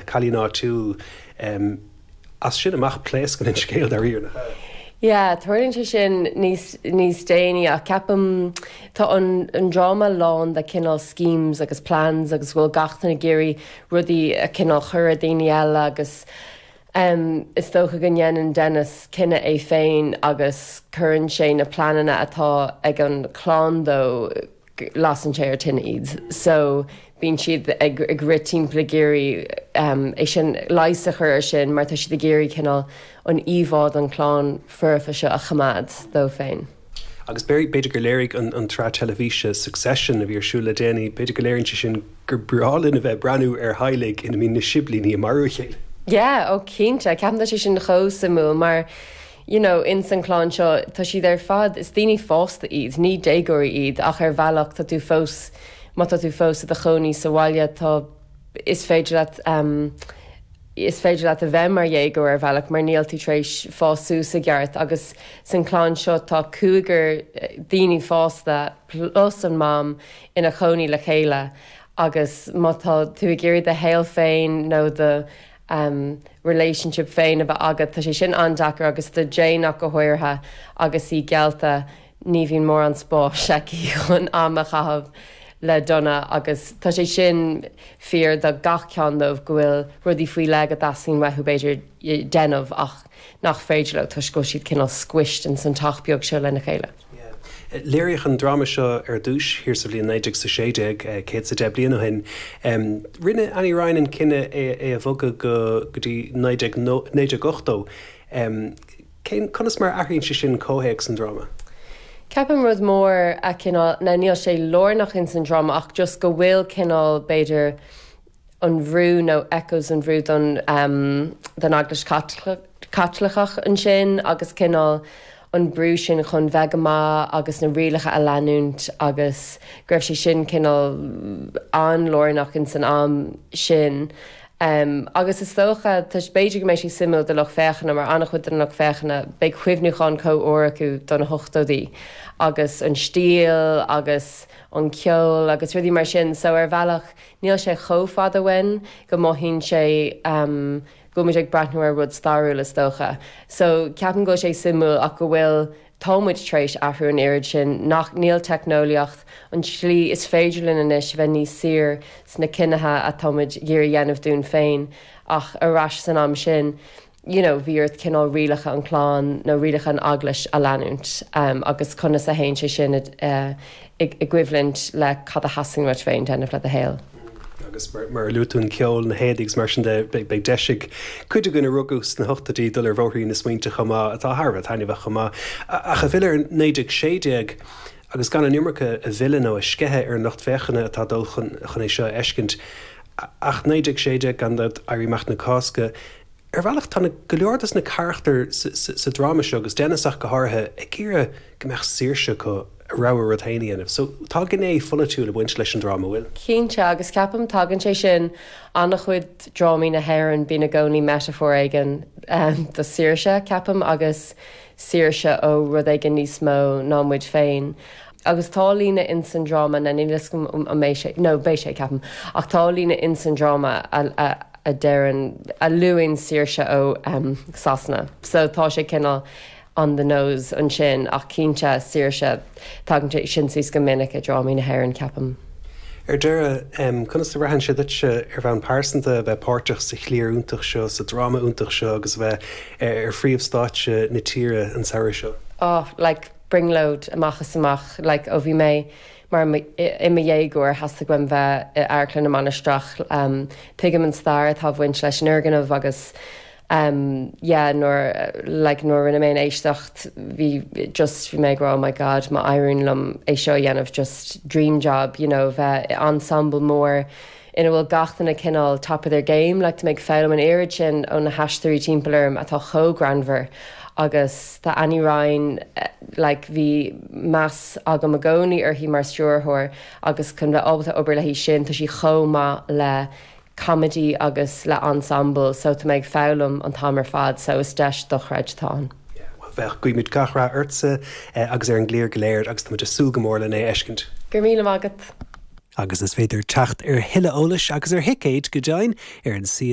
Cailín áitiúil. As sin amach pléascann an scéal dáiríre, nach ea? Yeah, tarlaíonn sé sin níos níos déanaí ach ceapaim tá an an dráma lán de cineál schemes agus plans agus go bhfuil gach duine ag iarraidh rudaí a cineál chur ar daoine eile agus em is dócha go ndéanann Dennis cinneadh é féin agus cuireann sé na pleananna atá ag an chlann dó lasann sé ar tine iad. So bíonn siad ag ag rith timpeall ag iarraidh é sin, leigheas a chur ar sin mar tá siad ag iarraidh cineál an íomhá den chlann foirfe seo a choimeád dóibh féin. Agus b'fhéidir gur léirigh an an tsraith teilifíse Succession a bhí ar siúl le déanaí, b'fhéidir go léiríonn sé sin gur breá linn a bheith ag breathnú ar theaghlaigh ina mbíonn na siblíní ag marú a chéile. Yeah, ó cinnte. Ceapaim tá sé sin chomh suimiúil mar you know, ins an clann seo, tá siad ar fad, is daoine fásta iad, ní déagóirí iad, ach ar bhealach tá tú fós, má tá tú fós i do chónaí sa bhaile, tá, is féidir leat ehm, is féidir leat a bheith mar dhéagóir ar bhealach mar níl tú tar éis fás suas i gceart agus san clann seo tá cúigear daoine fásta plus an mam ina chónaí le chéile agus má tá tú ag iarraidh do shaol féin nó do relationship féin a bheith agat, tá sé sin an-deacair agus do Jane ach go háirithe agus í geallta ní bhíonn mórán spáis aici chun am a chaitheamh le Donna agus tá sé sin fíor do gach ceann dóibh go bhfuil rudaí faoi leith go dteastaíonn uathu b'fhéidir déanamh ach nach féidir leo toisc go bhfuil siad cineál squished ins an teach beag seo lena chéile. Léiríodh an dráma seo ar dtús thiar sa bhliain 1916, 110 bliain ó shin. Rinne Annie Ryan an cinneadh é a bhogadh go dtí 1980. Cén, conas mar a athraíonn sé sin comhthéacs an dráma? Ceapaim rud mór a cineál, now níl sé lárnach ins an dráma ach just go bhfuil cineál b'fhéidir, an bhrú nó echoes an bhrú don don Eaglais Chaitliceach ansin agus cineál an brú sin chun bheith go maith agus na rialacha a leanúint agus go raibh sé sin cineál an-lárnach ins an am sin. Agus is dócha, b'fhéidir go mbeidh sé suimiúil do lucht féachana mar an-chuid den lucht féachana beidh cuimhniúchán chomh úr acu do na hochtóidí agus an stíl agus an ceol agus rudaí mar sin so ar bhealach Níl sé chomh fada uainn go mothaíonn sé go bhfuil muid ag breathnú ar rud stairiúil is dócha. So ceapaim go bhfuil sé suimiúil ach go bhfuil, tá muid tar éis athrú an oiread sin nach, níl teicneolaíocht, an tslí is féidir linn anois a bheith níos saoire sna cinnithe atá muid ag iarraidh a dhéanamh dúinn féin ach ar ais san am sin, you know bhí ort cineál rialacha an chlann nó rialacha an eaglais a leanúint agus conas a théann sé sin i gcoimhlint le cad a theastaíonn uait féin déanamh le do shaol. Agus mar a luaigh tú an ceol, na héadaí agus mar sin de, beidh deis ag cuid againn a rugadh sna hochtóidí dul ar bhóithrín na smaointe chomh maith, atá thar a bheith taitneamhach chomh maith. Ach ag filleadh ar 1916, agus gan an iomarca a mhilleadh nó a sceitheadh ar an lucht féachana atá ag dul chun é seo a fheiscint, ach 1916, gan dabht, Éirí Amach na Cásca, Ar bhealach, tá go leor dos na carachtair sa dráma seo, agus Dennis ach go háirithe, ag iarraidh go mbeadh saoirse acu a rogha rud féin a dhéanamh. So, tá gné pholaitiúil ag baint leis an dráma, an bhfuil? Cinnte, agus ceapaim tagann sé sin, an-chuid drámaí na hÉireann, bíonn i gcónaí metaphor éigin do saoirse, ceapaim, agus saoirse ó rud éigin níos mó ná muid féin. Agus tá líne ins an dráma, now níl fhios agam an mbeidh sé, no beidh sé, ceapaim, ach tá líne ins an dráma a, a, a deireann, a luann saoirse ó Sasana. So tá sé cineál on the nose ansin ach cinnte saoirse, tagann sé sin suas go minic i drámaí na hÉireann, ceapaim. Ar deireadh, conas a bhraitheann sé duitse ar bhonn pearsanta a bheith páirteach sa chliar iontach seo, sa dráma iontach seo agus a bheith ar phríomhstáitse na tíre an samhradh seo? Oh, like, brionglóid amach is amach, like, ó bhí mé mar i mo dhéagóir theastaigh uaim bheith i Amharclann na Mainistreach. Tuigim an stair atá ag baint leis an fhoirgneamh agus yeah nuair like nuair a rinne mé an éisteacht bhí just bhí mé ag rá oh my god má éiríonn liom é seo a dhéanamh just dream job you know bheith i ensemble mór ina bhfuil gach duine cineál top of their game, like tá mé ag foghlaim an oiread sin ó na haisteoirí timpeall orm atá chomh greannmhar agus tá Annie Ryan like bhí meas agam i gcónaí uirthi mar stiúrthóir agus chun bheith ábalta obair léi sin tá sí chomh maith le comedy agus le ensemble so tá mé ag foghlaim an t-am ar fad so is deis dochreidte atá ann. Yeah, bhuel bheadh, guímid gach rath ortsa agus ar an gcliar go léir agus tá muid ag súil go mór lena fheiscint. Go raibh míle maith agat. Agus is féidir teacht ar thuilleadh eolais agus ar thicéid go deimhin ar an suíomh.